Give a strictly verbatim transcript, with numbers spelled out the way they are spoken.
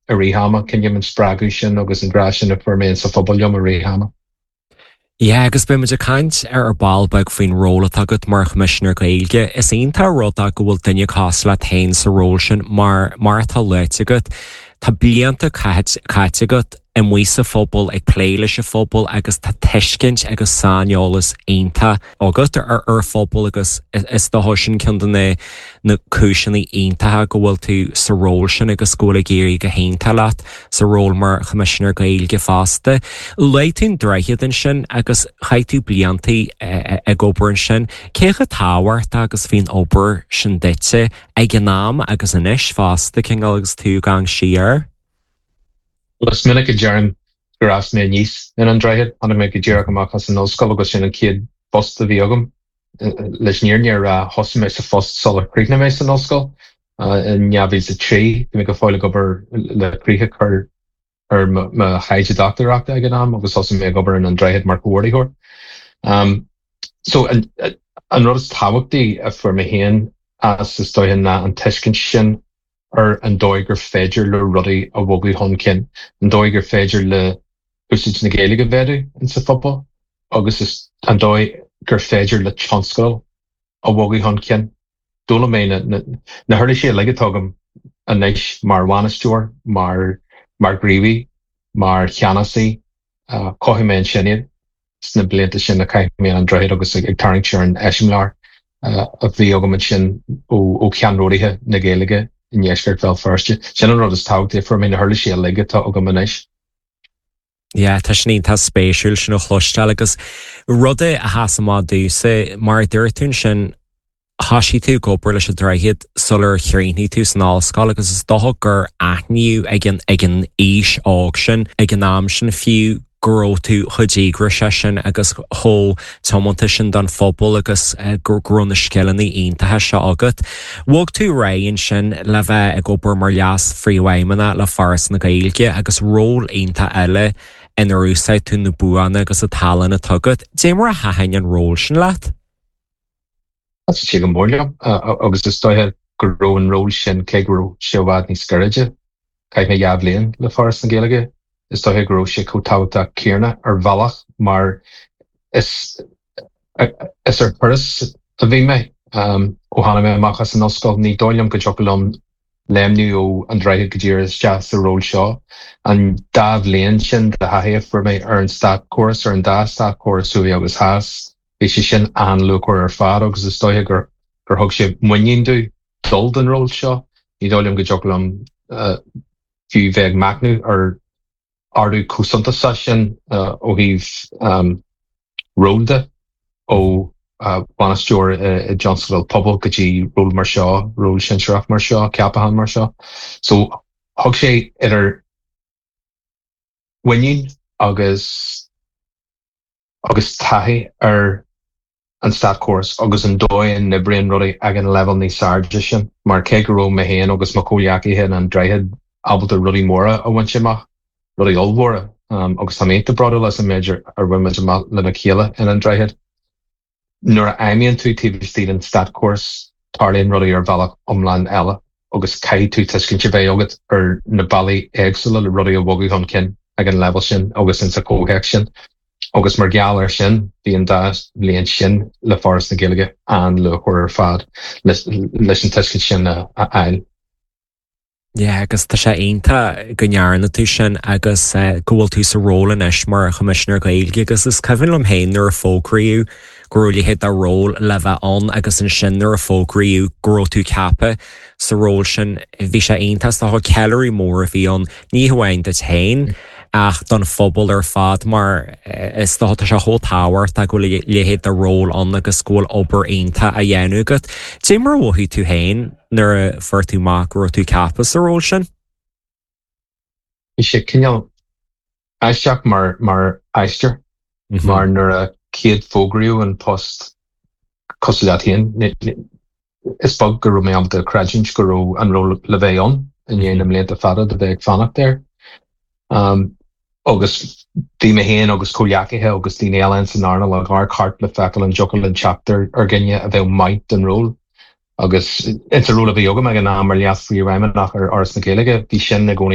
i rith ama, coinním an spreagadh sin agus an grá sin a fuair mé sa phobal liom i rith ama. Yeah, agus beidh muid ag caint ar ar ball beag faoin ról atá agat mar Choimisinéir Gaeilge. Is iontach an rud é go bhfuil duine cosúil leat féin sa ról sin mar mar atá luaite agat. Tá blianta caite agat amuigh sa phobal ag plé leis an phobal agus tá tuiscint agus saineolas iontach agat ar ar phobal agus is dócha sin ceann de na na cúiseanna iontacha go bhfuil tú sa ról sin agus go bhfuil ag éirí go hiontach leat sa ról mar Choimisinéir Gaeilge fosta. Luaigh tú an Droichead ansin agus chaith tú blianta ag obair ansin, cé chomh tábhachtach agus bhí an obair sin duitse ag an am agus anois fosta cineál agus tú ag amharc siar? Is minic a deirim gur fhás mé aníos in An Droichead, tháinig mé go díreach amach as an ollscoil agus sin an chéad phost a bhí agam. Leis an fhírinne a rá thosaigh mé sa phost sular chríochnaigh mé san ollscoil in dhá mhíle a trí, bhí mé go fóill ag obair le críoch a chur ar mo thaighde dochtúireachta ag an am agus thosaigh mé ag obair in An Droichead mar chomhordaitheoir. Um, so an, an rud is tábhachtaí a fuair mé féin as is dóiche ná an tuiscint sin ar an dóigh gur féidir le rudaí a bhogadh chun cinn, an dóigh gur féidir le húsáid na Gaeilge a mhéadú in sa phobal, agus is an dóigh gur féidir le tionscadail a bhogadh chun cinn. D'fhoghlaim mé na, na, na huirlisí uilig atá agam anois mar bhainisteoir, mar mar ghníomhaí, mar cheannasaí, uh, chothaigh mé ansin iad sna blianta sin a chaith mé an Droichead agus ag, ag tarraingt ar an eiseamláir uh, a bhí agam ansin ó, ó cheannródaithe na Gaeilge i ndeisceart Bhéal Feirste. Sin an rud is tábhachtaí fuair mé na huirlisí uilig atá agam anois. Yeah, tá sin tá spéisiúil sin a chloisteáil agus rud a sheas amach domhsa mar a dúirt tú sin thosaigh tú ag obair leis an Droichead sular chríochnaigh tú san ollscoil agus is dócha gur aithníodh ag an ag an aois óg sin ag an am sin fiú go raibh tú chomh díograiseach sin agus chomh tiomanta sin don phobal agus go raibh na scileanna iontacha seo agat. Bhog tú ar aghaidh ansin le bheith ag obair mar leas-phríomhfheidhmeannach le Foras na Gaeilge agus ról iontach eile inar úsáid tú na buanna agus an tallann atá agat. Dé mar a thaitin an ról sin leat? Thaitin sé go mór liom agus is dóiche go raibh an ról sin cé go raibh sé i bhfad níos gairide. Chaith mé dhá bhliain le Foras na Gaeilge, is dóiche go raibh sé chomh tábhachtach céanna ar bhealach mar is is ar thuras a bhí mé um, ó tháinig mé amach as an ollscoil ní dóigh liom go dtiocfadh liom léimniú ó an Droichead go dtí isteach sa ról seo. An dá bhliain sin de thaithí a fuair mé ar an státchóras ar an dá státchóras thuaidh agus theas, bhí sé sin an-luachmhar ar fad agus is dóiche gur gur thug sé muinín domh dul don ról seo. Ní dóigh liom go dtiocfadh liom uh, fiú bheith ag machnamh ar ardú chomh suntasach sin uh, ó thaobh um, ról de ó uh, bainisteoir i dtionscadal pobail go dtí ról mar seo, ról sinsearach mar seo, ceapachán mar seo. So thug sé idir mhuinín agus agus taithí ar an státchóras agus an dóigh a n-oibríonn rudaí ag an leibhéal níos airde sin, mar cé go raibh mé féin agus mo chomhghleacaithe in An Droichead ábalta rudaí móra a bhaint amach, rudaí ollmhóra, um, agus tá mé bródúil as an méid ar bhain muid amach lena chéile in An Droichead. Nuair a fheidhmíonn tú taobh istigh den státchóras tarlaíonn rudaí ar bhealach iomlán eile agus caithfidh tú tuiscint a bheith agat ar na bealaí éagsúla le rudaí a bhogadh chun cinn ag an leibhéal sin agus in sa chomhthéacs sin. Agus mar gheall air sin bhí an dá bhliain sin le Foras na Gaeilge an-luachmhar ar fad leis an tuiscint sin a fháil. Yeah, agus tá sé iontach go ndearna tú sin agus uh, go bhfuil tú sa ról anois mar Choimisinéir Gaeilge agus is cuimhin liom féin nuair a fógraíodh go raibh leithéid de ról le bheith ann agus ansin nuair a fógraíodh go raibh tú ceaptha sa ról sin bhí sé iontach tá ceiliúradh mór a bhí ann ní hamháin duit féin ach don phobal ar fad mar is dócha tá sé chomh tábhachtach go bhfuil leithéid de ról ann agus go bhfuil obair iontach á dhéanamh agat. Dé mar a mhothaigh tú féin nuair a fuair tú amach go raibh tú ceaptha sa ról sin? Bhí sé cineál aisteach mar mar aistear mar nuair a chéad fógraíodh an post cosúil leat féin is beag go raibh mé ábalta creidiúint go raibh an ról le bheith ann i ndiaidh na mblianta fada de bheith ag fanacht air. Um, agus bhí mé féin agus comhghleacaithe agus daoine eile san earnáil ag amharc thart le feiceáil an dtiocfadh linn teacht ar ar dhuine a bheadh maith don ról. Agus insa ról a bhí agam ag an am mar leas-phríomhfheidhmeannach ar Fhoras na Gaeilge, bhí sin i gcónaí